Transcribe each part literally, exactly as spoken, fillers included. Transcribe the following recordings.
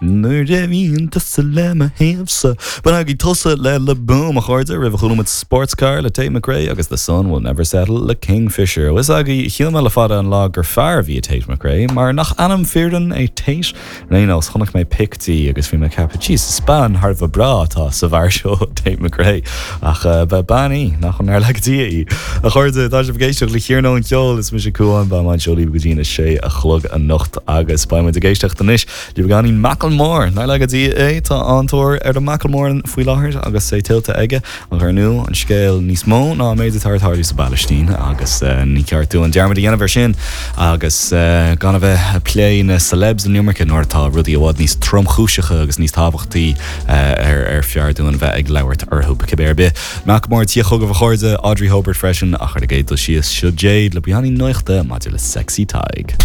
Nuair a bhíonn tusa le mo thaobhsa. Bainigí tús le Le Boom a chairde roimh a chuala muid Sportscar le Tate McRae agus The Sun Will Never Settle le Kingfisher. Is agaí shíl mé le fada an lá gur fear a bhí Tate McRae, mar nach ainm fireann é Tate Rénos chonaic mé pic di agus bhí mé ag ceapadh Jesus bean thar bheith breá atá sa bhfear seo Tate McRae ach uh, ba bean í nach an ar le dí í. A chairde tá sibh ag éisteacht le hiarnóin ceol is mise Cuán beidh mé anseo libh go dtí a sé a chlog anocht agus beidh muid ag éisteacht anois le beagáinín Macklemore ná le dí é tá an-tóir ar an Macklemore faoi láthair agus é tuillte aige an arnú an scéal níos mó ná méid atá ag tarlú sa bPalaistín agus uh, ní ceart dúinn dearmad a dhéanamh air sin agus uh, gan a bheith ag plé na celebs an iomarca nuair atá rudaí i bhfad níos tromchúiseacha agus níos tábhachtaí uh, ar ar fearr dúinn bheith ag labhairt orthu cibé ar bith. Macklemore tí chugah a chairde Audrey Hobart freisin ach ar a dul síos seo Jade le beagáinín nuachta maidir le Sexy Tadhg.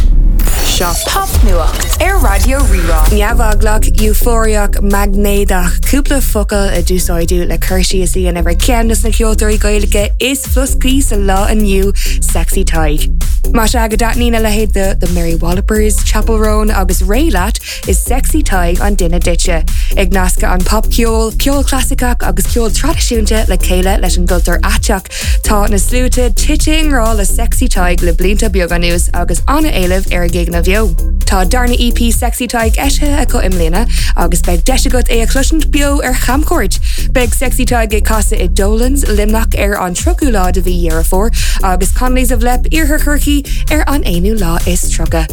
Seo popnuacht ar Raidió Rí-Rá. Neamheaglach eufóriach maighnéadach cúpla focal a d'úsáideadh le cur síos a dhéanamh ar cheann de na ceoltóirí Gaeilge is floscaí sa lá inniu Sexy Tadhg. Más ea go dtaitníonn a leithéid de the Mary Wallopers, Chappell Roan agus Raye leat is Sexy Tadhg an duine duitse. Ag nascadh an popcheol, ceol clasaiceach agus ceol traidisiúnta le chéile leis an gcultúr aiteach. Tá na sluaite tite i ngrá le Sexy Tadhg le blianta beaga anuas agus an-éileamh ar a gigeanna beo. Tá darna EP Sexy Tadhg eisithe acu i mbliana agus beidh deis agat é a chloisint beo ar chamchuairt. Beidh Sexy Tadhg ag casadh i Dolan's Luimneach ar an tríochú lá de mhí Dheireadh Fómhair agus Connolly's of Leap Iarthar Chorcaí ar an aonú lá is tríocha.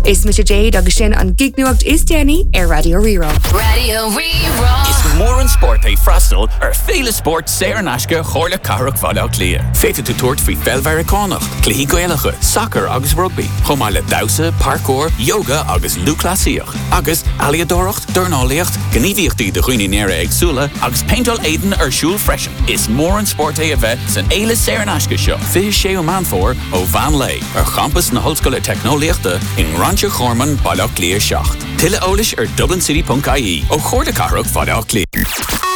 Is mise Jade agus sin an gignuacht is déanaí ar Raidió Rí-Rá. Raidió Rí-Rá. Is mór an spórt é freastal ar féile spórt saor in aisce Chomhairle Cathrach Bhaile Átha Cliath. Féadfaidh tú tabhairt faoi pheil Mheiriceánach, cluichí Gaelacha, sacar agus rugbaí, chomh maith le damhsa, parkour, yoga agus lúthchleasaíocht, agus ealaíodóireacht, dornálaíocht, gníomhaíochtaí do dhaoine néara-éagsúla agus péinteáil éadain ar siúl freisin. Is mór an spórt é a bheith san fhéile saor in aisce seo, fiche séú Meán Fómhair ó mheán lae ar champas na hOllscoile Teicneolaíochta i nGrainse Chorman Baile Átha Cliath seacht. Tuilleadh eolais ar dublincity.ie ó Chomhairle Cathrach Bhaile Átha Cliath.